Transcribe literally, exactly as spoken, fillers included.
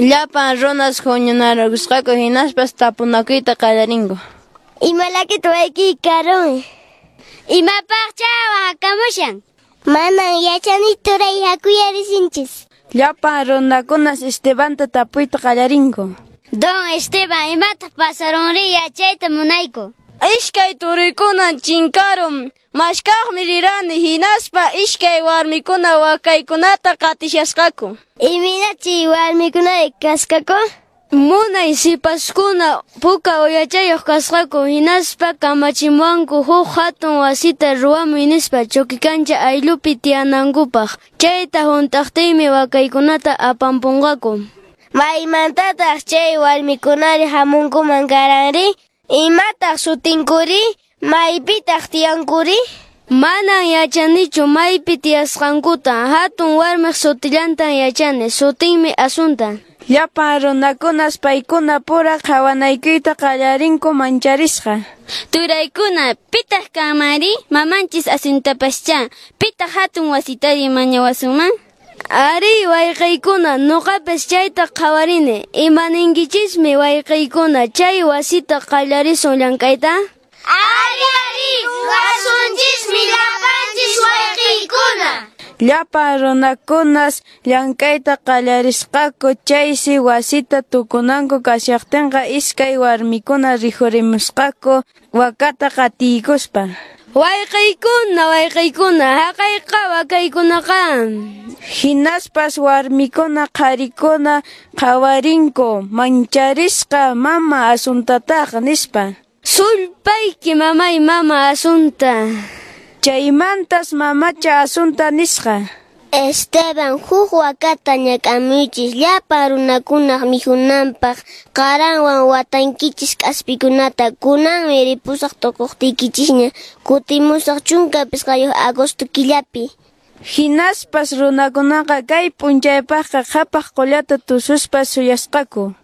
Llapan runas huñunakurusqaku hinaspas tapunakuyta qallarinku. Ima llakitaq wayqiyki karun? Imapaqchá waqakamushan? Manan yachani turay, hakuyá risunchis. Llapan runakunas Estebanta tapuyta qallarinku. Don Esteban, imataq pasarunri yachayta munayku. Iskay turuykunan chinkarun. Mashkaqmi rirani hinaspa iskay warmikuna wakaykunata qatishasqaku. Imaynachi warmikuna kasqaku? Munay sipaskuna puka uyachayuq kasqaku hinaspa kamachimuwanku huk hatun wasita ruwamuy nispa Chukikancha ayllupi tiyanankupaq. Chayta hunt'aqtiymi wakaykunata apampunqaku. Maymantataq chay warmikunari hamunkuman karanri? Imataq sutinkuri? Maypitaq tiyankuri? Manan yachanichu maypi tiyasqankuta. Hatun warmiq sutillantan yachani. Sutinmi Asunta. Llapan runakunas paykuna pura qhawanaykuyta qallarinku mancharisqa. Turaykuna, pitaq kanmanri? Mamanchis Asuntapaschá. Pitaq hatun wasitari mañawasunman? Ari, wayqiykuna, nuqapas chayta qhawarini. Imaninkichismi wayqiykuna chay wasita qallarisun llank'ayta? Ari, ari, ruwasunchismi llapanchis wayqiykuna. Llapan runakunas llank'ayta qallarisqaku chaysi wasita tukunanku kashaqtinqa iskay warmikuna rikhurimusqaku wakata qatiykuspa. Wayqiykuna, wayqiykuna, haqayqa wakaykunaqa. Hinaspas warmikuna qharikuna qhawarinku mancharisqa mama Asuntataq nispa. Sulpayki mamay mama Asunta. Chaymantas mamacha Asunta nisqa. Esteban, huk wakata ñak'amuychis llapa runakunaq mikhunanpaq qaranwan watankichis k'aspikunata. Kunanmi ripusaq tukuqtiykichisña kutimusaq chunka pisqayuq agosto killapi. Hinaspas runakunaqa kay p'unchaypaqqa qhapaq qullata tususpa suyasqaku.